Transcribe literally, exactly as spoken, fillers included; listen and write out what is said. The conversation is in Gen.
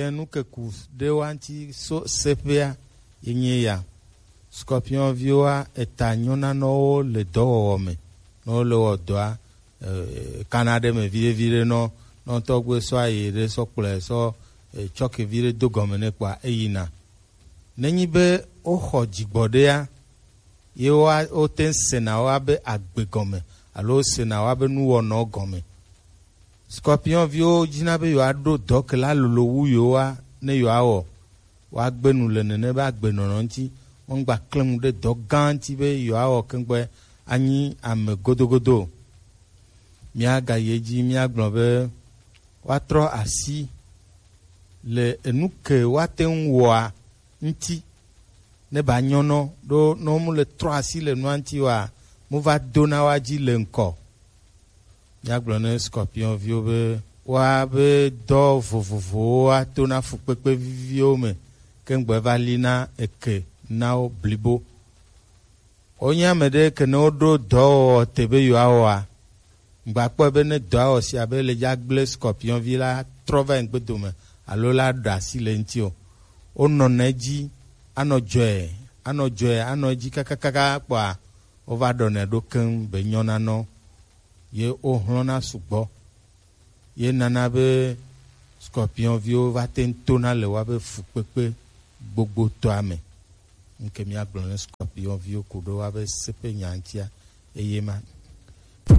Enu ke ku ɖe wa ŋuti so seƒea ye nye ya. Scorpion viwoa, eta nyɔna nɔ wo le dɔwɔwɔ me, ne wo le wɔ dɔa, eh, kana ɖe me viɖe viɖe nɔ, nɔ tɔgbe sɔ ayi ɖe sɔ kplɔe sɔ, eh, tsɔke viɖe do gɔme nɛ kpɔa eyina. Nenyi be woxɔ dzigbɔ ɖea, ye woa, wote ŋu sena wo abe agbe gɔme alo sena wo abe nuwɔnɔ gɔme. Scorpion viwo dina be yewoaɖo dɔ ke la lolo wu yewoa ne yewoawɔ. Woagbe nu le nene be agbenɔnɔ ŋuti. Womgba klẽ nu ɖe dɔ gã ŋuti be yewoawɔ keŋgbe anyi ame godogodo o. Míagayi edzi míagblɔ be woatrɔ asi le enu ke woate ŋu wɔa ŋuti ne ba nyɔnɔ ɖo ne womele trɔ asi le nua ŋuti oa, mova dona woa dzi le ŋkɔ. Míagblɔ ne scorpion viwo be woabe dɔ vovovowo ato na fukpekpe viviwo me keŋgbe va li na eke na wo blibo. Wonye ame ɖe ke ne woɖo dɔwɔwɔ te be yewoawɔa, ŋgba kpɔe be ne dɔwɔwɔ sia be le dza gblẽ scorpion vi la trɔ va yi ŋgbe dome alo la ɖe asi le ŋuti o. Wonɔna edzi anɔ dzɔe, anɔ dzɔe, anɔ edzi kakakaka kpɔa, wova ɖɔnɛ ɖo keŋ be nyɔna nɔ ye wohlɔ̃na sugbɔ. Ye nana be scorpion viwo va te ŋu tona le woabe fukpekpe gbogbotɔa me. Ŋke míagblɔ ne scorpion viwo ku ɖo woabe seƒe nya ŋutia, eye ma.